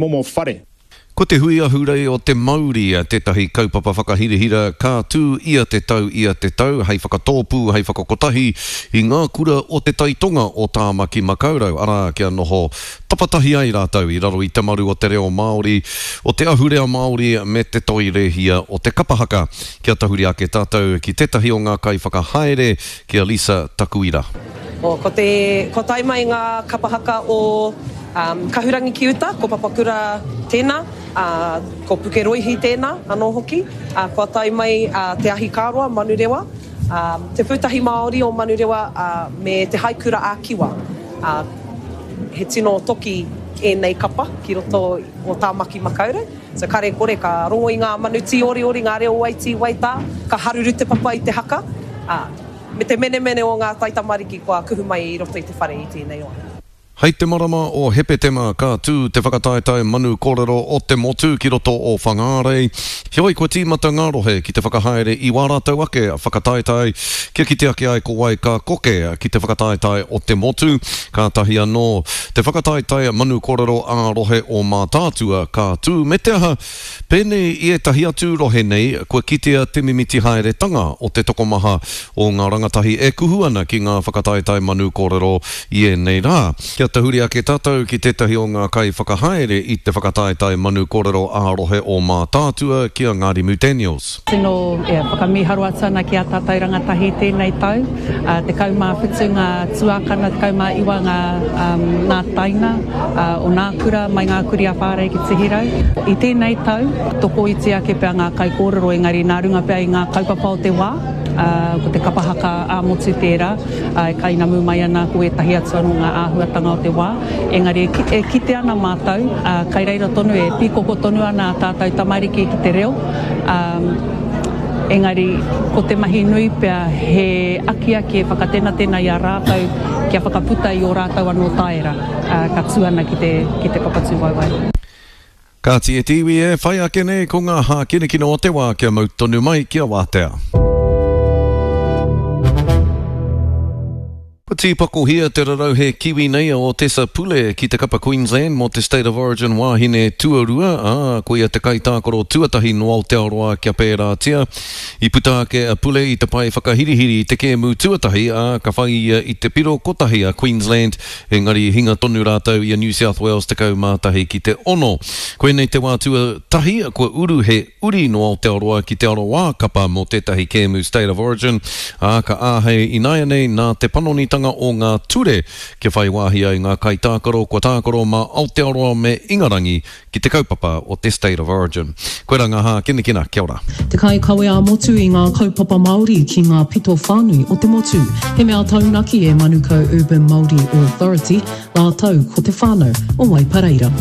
Momo whare. Ko te Hui Ahurei o Te Mauri tētahi kaupapa whakahirahira ka tū ia te tau ia te tau hei whakatōpū, hei whakakotahi i ngā kura o te tai tonga o Tāmaki Makaurau, arā, kia noho tapatahi ai rātou i raro i te maru o te reo Māori, o te ahurea Māori me te toi rēhia o te kapa haka. Kia tahuri ake tātou ki tētahi o ngā kaiwhakahaere, ki a Lisa Takuira. Ko te, kua tae mai ngā kapa haka o Kahurangi ki uta, ko Papakura tēnā, ā, ko Pukeroihi tēnā anō hoki. Ā, kua tae mai Te Ahikāroa, Manurewa, ā, Te Pūtahi Māori o Manurewa, ā, me Te Haikura ā-Kiwa. Ā, he tino toki ēnei kapa ki roto o Tāmaki Makaurau. So kare kore ka rongo i ngā manu tīoriori, ngā reo waitī, waitā, ka haruru te papa i te haka, ā, me te menemene o ngā taitamariki kua kuhu mai i roto i te whare i tēnei wā. Hei te marama o Hepetema ka tū te whakataetae manu kōrero o te motu ki roto o Whangārei. Heoi kua tīmata ngā rohe ki te whakahaere i wā rātou ake whakataetae kia kite ake ai ko wai ka koke ki te whakataetae o te motu. Kātahi anō te whakataetae manu kōrero ā-rohe o Mātaatua ka tū me te aha, pēnei i ētahi atu rohe nei, kua kitea te mimiti haeretanga o te tokomaha o ngā rangatahi e kuhu ana ki ngā whakataetae manu kōrero i ēnei rā. Kia tahuri ake tātou ki tētahi o ngā kaiwhakahaere i te whakataetae manu kōrero ā-rohe o Mātaatua ki a Ngārimu Daniels. Tino whakamīharo atu ana ki ā tātou rangatahi i tēnei tau. 17 ngā tuākana, 19 ngā ngā taina o nā kura mai ngā kuri a Whārei ki Tihirau. I tēnei tau, tokoiti ake pea ngā kaikōrero engari nā runga pea i ngā kaupapa o te wā, ko te kapa haka ā-motu tērā e kainamu mai ana ko ētahi atu anō ngā āhuatanga o te wā. Engari e kite ana mātou, kai reira tonu e pīkoko tonu ana ā tātou tamariki ki te reo. Engari, ko te mahi nui pea he akiaki e whakatenatena i a rātou kia whakaputa i ō rātou anō taera ka tū ana ki te, ki te papatūwaewae. Kāti e te iwi e whai ake nei ko ngā hākinakina o te wā kia mau tonu mai kia wātea. Kua tīpakohia te rarauhe Kiwi nei a Otesa Pule ki te kapa Queensland mō te State of Origin wāhine tuarua, ā, koia te kaitākaro tuatahi nō Aotearoa kia pērātia. I puta ake a Pule i te pae whakahirihiri i te kēmu tuatahi, ā, ka whai ia i te piro kotahi a Queensland, engari i hinga tonu rātou i a New South Wales 11 ki te ono. Koinei te wā tuatahi kua uru he uri nō Aotearoa ki te aroā kapa mō tētahi kēmu State of Origin, ā, ka āhei ināianei nā te panonitanga o ngā ture kia whai wāhi ai ngā kaitākaro kua tākaro mā Aotearoa me Ingarangi ki te kaupapa o te State of Origin. Koirā ngā hākinakina, kia ora. Te kaikawe ā-motu i ngā kaupapa Māori ki ngā pito whānui o te motu. He mea taunaki e Manukau Urban Māori Authority rātou ko te whānau o Waipareira.